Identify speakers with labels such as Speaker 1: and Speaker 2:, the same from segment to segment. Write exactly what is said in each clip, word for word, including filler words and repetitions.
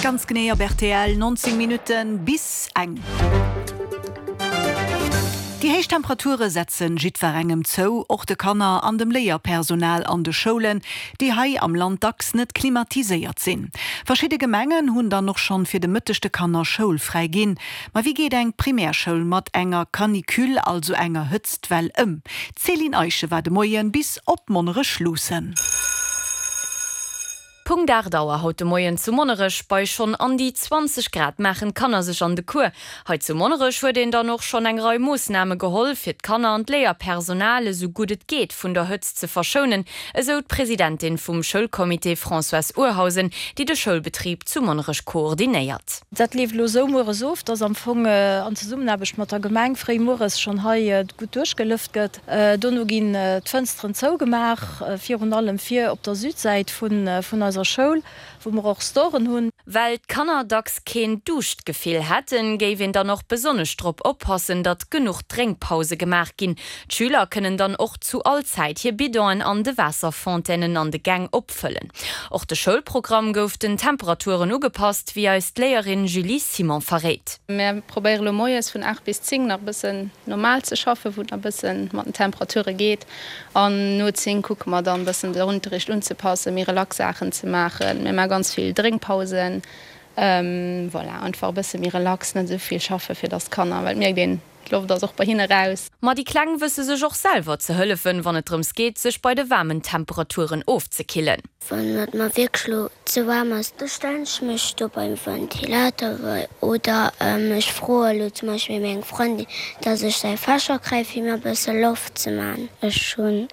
Speaker 1: Ganz genee op rtl, neunzéng Minutten bis eng. Déi héich Temperature setzen jiddwerengem zou, och de Kanner an dem Léierpersonal an de Schoulen, déi hei am Land dacks net klimatiséiert sinn. Verschidde Gemengen hunn dann och schonn fir de Mëtteg de Kanner schoulfräi ginn. Ma wéi geet eng Primärschoul mat enger Canicule, also enger Hëtztwell, ëm? D'Céline Eischen war de Moien bis op Monnerech luussen.
Speaker 2: Punkt aacht Auer haut de Moien zu Monnerech, bei schonn an déi zwanzeg Grad maachen d'Kanner sech an de Cours. Hei zu Monnerech huet een dann och schonn eng Rei Moossname geholl, fir d'Kanner an d'Léierpersonal esou gutt et geet vun der Hëtzt ze verschounen, esou d'Presidentin vum Schoulcomité Françoise Urhausen, déi de Schoulbetrib zu Monnerech koordinéiert.
Speaker 3: Dat leeft elo esou mueres of, dass am Fong an Zesummenaarbecht mat der Gemeng fréi mueres schonn hei gutt duerchgelëft gëtt. Dono ginn d'Fënsteren zougemaach, virun allem vir op der Südsäit vun eiser Schoul, wou mer och Storen hunn.
Speaker 2: Well d'Kanner dacks keen Duuschtgefill hätten, géif een dann och besonnesch drop oppassen, datt genuch Drénkpause gemaach ginn. D'Schüler kënnen dann och zu all Zäit hir Bidonen an de Waasserfontainen an de Gäng opfëllen. Och de Schoulprogramm gouf den Temperaturen ugepasst, wéi eis d'Léierin Julie Simon verréit.
Speaker 4: Mär probéiere lo moies vun aacht bis zéng nach e bëssen normal ze schaffen, wou et nach e bëssen mat den Temperature geet. An no zéng kucke mer dann e bëssen den Unterricht unzepassen, méi relax Saachen ze maachen. Mir maache ganz vill Drénkpausen. Voilà, einfach e bësse méi relax, net esou vill schaffen, fir dass d'Kanner, well et mierkt een, d'Loft ass och bei hinne raus.
Speaker 2: Ma déi Kleng wësse sech och selwer ze hëllefen, wann et drëms geet, sech bei de waarmen Temperaturen ofzekillen.
Speaker 5: Wann et mer wierklech lo ze waarm ass, da stellen ech mech do beim Ventilator oder ech froe lo zum Beispill meng Frëndin, dass ech säi Fächer kréie fir mir e bësse Loft ze man. Ech hunn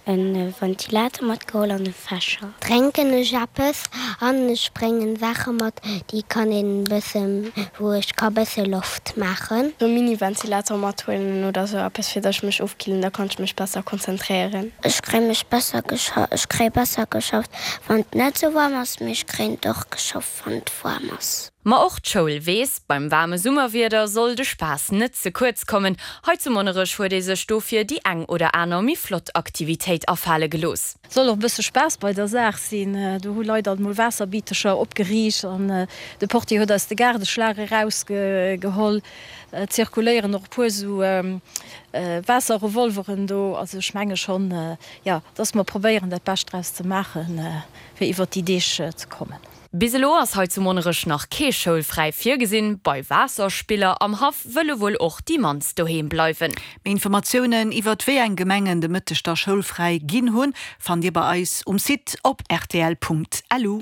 Speaker 5: e Ventilator matgeholl an e Fächer. Drénken ech eppes an ech bréngen Saache mat, déi kann een bëssen, wou ech ka bësse Loft maachen.
Speaker 6: E Mini-Ventilator mathuelen oder sou eppes, fir datt ech mech ofkillen, da kann ech mech besser konzentréieren.
Speaker 5: Ech kréie mech besser gescha, ech kréie besser geschafft, wann et net sou waarm ass, mee ech kréien et och geschafft, wann et waarm ass.
Speaker 2: Ma och d'Schoul weess, beim waarme Summerwieder soll de Spaass net ze kuerz kommen. Hei zu Monnerech huet ee sech dofir déi eng oder aner méi flott Aktivitéit afale gelooss.
Speaker 3: Soll och e bësse Spaass bei der Saach sinn. Do hu Leit alt mol Waasserbitecher opgeriicht an de Portier huet eis de Gaardeschlag erausgeholl. Et zirkuléieren och e puer esou Waasserrevolveren do. Also ech menge schonn, jo, dass mer probéieren dat Bescht draus ze maachen, fir iwwert déi Deeg ze kommen.
Speaker 2: Bis elo ass hei zu Monnerech nach kee Schoulfräi virgesinn. Bei Waasserspiller am Haff wëlle wuel och déi mannst doheem bleiwen.
Speaker 1: Méi Informatiounen iwwert wéi eng Gemengen de Mëtteg da schoulfräi ginn hunn, fannt Dir bei eis um Site op rtl.lu.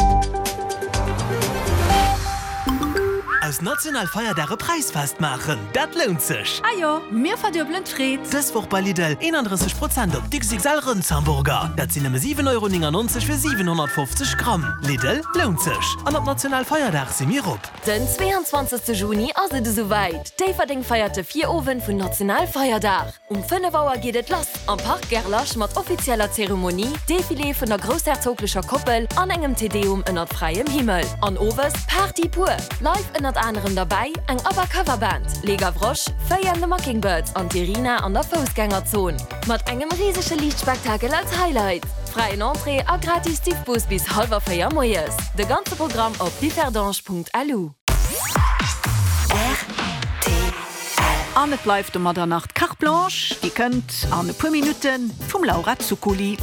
Speaker 7: Aus Nationalfeierdag e Präisfest maachen, dat lount sech!
Speaker 8: Ah jo, mir verduebelen d'Freed!
Speaker 7: Dës Woch bei Lidl, eenandrësseg Prozent op d'X X L Rëndshamburger. Dat sinn nëmme siwen Euro néngannonzeg fir siwenhonnertfofzeg Gramm. Lidl, lount sech! An op Nationalfeierdag si mir op!
Speaker 9: Den zweeanzwanzegste Juni ass et esouwäit, Déifferdeng feiert de Virowend vun Nationalfeierdag. Um fënnef Auer geet et lass am Parc Gerlache mat offizieller Zeremonie, Defilé vun der groussherzoglecher Koppel an engem Te Deum ënnert fräiem Himmel. An owes Party pur! Live ënnert anerem derbäi eng ABBA Cover Band, Les Gavroches, Faye and the Mockingbirds an d'Irina an der Foussgängerzon. Mat engem risege Liichtspektakel als Highlight. Fräien Entrée a gratis Diffbus bis hallwer véier moies. De ganze Programm op differdange.lu.
Speaker 1: An et bleift domadder nach d'Carte Blanche, déi kënnt an e puer Minutte vum Laura Zuccoli.